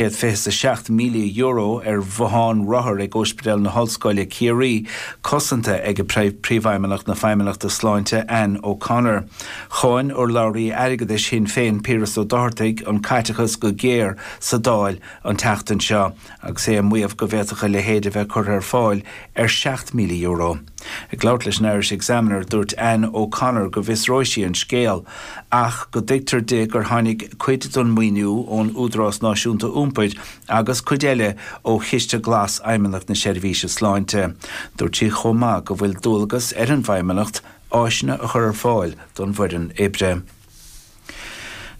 €127,000 ar bhotháin rothar ag Ospidéal na hOllscoile Ciarraí cosanta ag Príomhfheidhmeannach na Feidhmeannachta Sláinte Anne O'Connor. Cháin urlabhraí airgeadais Shinn Féin Piaras Ó Dochartaigh an caiteachas go géar sa Dáil an tseachtain seo agus é ag maíomh go bhféadfadh a leithéid a bheith curtha ar fáil ar €7,000. Ag labhairt leis an Irish Examiner, dúirt Anne O'Connor go bhfiosróidh sí an scéal ach go dtuigtear di gur tháinig cuid den mhaoiniú ón Údarás Náisiúnta Iompair agus cuid eile ó Chiste Glas Fheidhmeannacht na Seirbhíse Sláinte. Dúirt sí chomh maith go bhfuil dualgas ar an bhFeidhmeannacht áiseanna a chur ar fáil don bhfoireann oibre.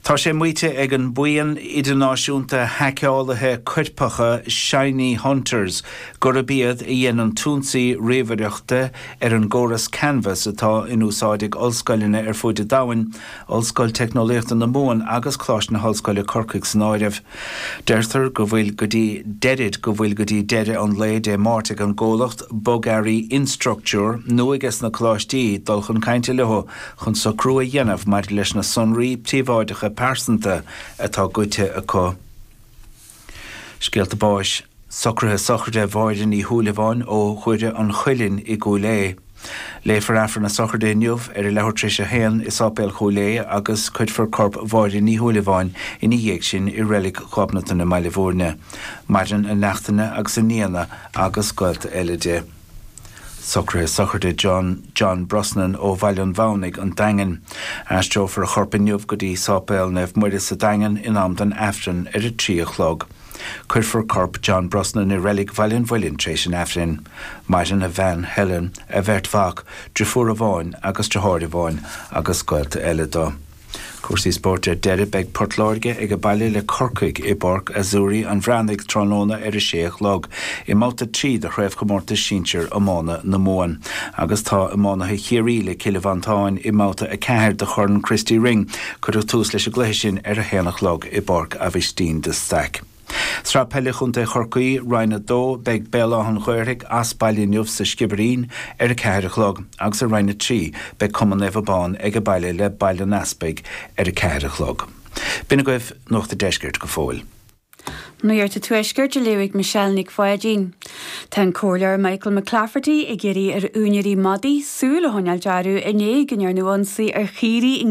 Tá sé maíte ag an mbuíon idirnáisiúnta haiceálaithe coirpeacha Shiny Hunters gurb iad a dhein an t-ionsaí ríomhaireachta ar an gcóras Canvas atá in úsáid ag ollscoileanna ar fuaid an domhain, Ollscoil Teicneolaíochta na Mumhan agus Coláiste na hOllscoile Corcaigh san áireamh. Deirtear go bhfuil go dtí deirid go bhfuil go dtí deireadh an lae Dé Máirt ag an gcomhlacht bogearraí Instructure nó aige sna coláistí dul chun cainte leo chun socrú a dhéanamh maidir leis na sonraí príobháideacha pearsanta atá goidte acu. Scéalta báis, Socruithe sochraide Mháire Ní Shúilleabháin ó Dhoire an Chuilinn i gCúil Aodha. Léifear Aifreann na sochraide inniu ar a leathuair tar éis a haon i Sáipéal Chúil Aodha agus cuirfear corp Mháire Ní Shúilleabháin ina dhiaidh sin i Reilig Ghobnatan i mBaile Bhúirne. Maireann a neachtanna agus a nianna agus gaolta eile di. Socruithe sochraide John John Brosnan ó Bhaile an Mhamhnaigh, An Daingean. Aistreofar a chorp inniu go dtí Sáipéal Naomh Muire sa Daingean in am don Aifreann ar a 3 a chlog. Cuirfear corp John Brosnan i Reilig Bhaile an Mhuilinn tar éis an Aifrinn. Maireann a bhean, Helen, a bheirt mhac, driofúr amháin agus driotháir amháin agus gaolta eile dó. Cúrsaí spóirt ar deireadh, beidh Port Láirge age baile le Corcaigh i bPáirc Azzurri an Bhreathnaigh tráthnóna ar a sé a chlog i mbabhta 3 de Chraobhchomórtas Sinsir Iomána na Mumhan. Agus tá iománaithe Chiarraí le Cill Mhantáin i mbabhta 4 de Chorn Christy Ring. Cuireadh tús leis an gcluiche sin ar a haon a chlog i bPáirc Aibhistín de Staic. Sraith Peile Chontae Chorcaí, Roinn 2, Beidh Béal Átha an Ghaorthaidh as baile inniu sa Sciobairín ar 4 a chlog agus i Roinn 3 beidh Cumann Naomh Abán ag baile le Baile an Easpaig ar 4 a chlog. B'in agaibh Nuacht an Deiscirt go fóill. Nuacht an Tuaiscirt á léamh ag Michelle Nic Pháidín. Tá an Comhairleoir Michael McClafferty ag iarraidh ar úinéirí madaí súil a choinneáil orthu i ndiaidh go ndearnadh ionsaí ar chaoirigh i.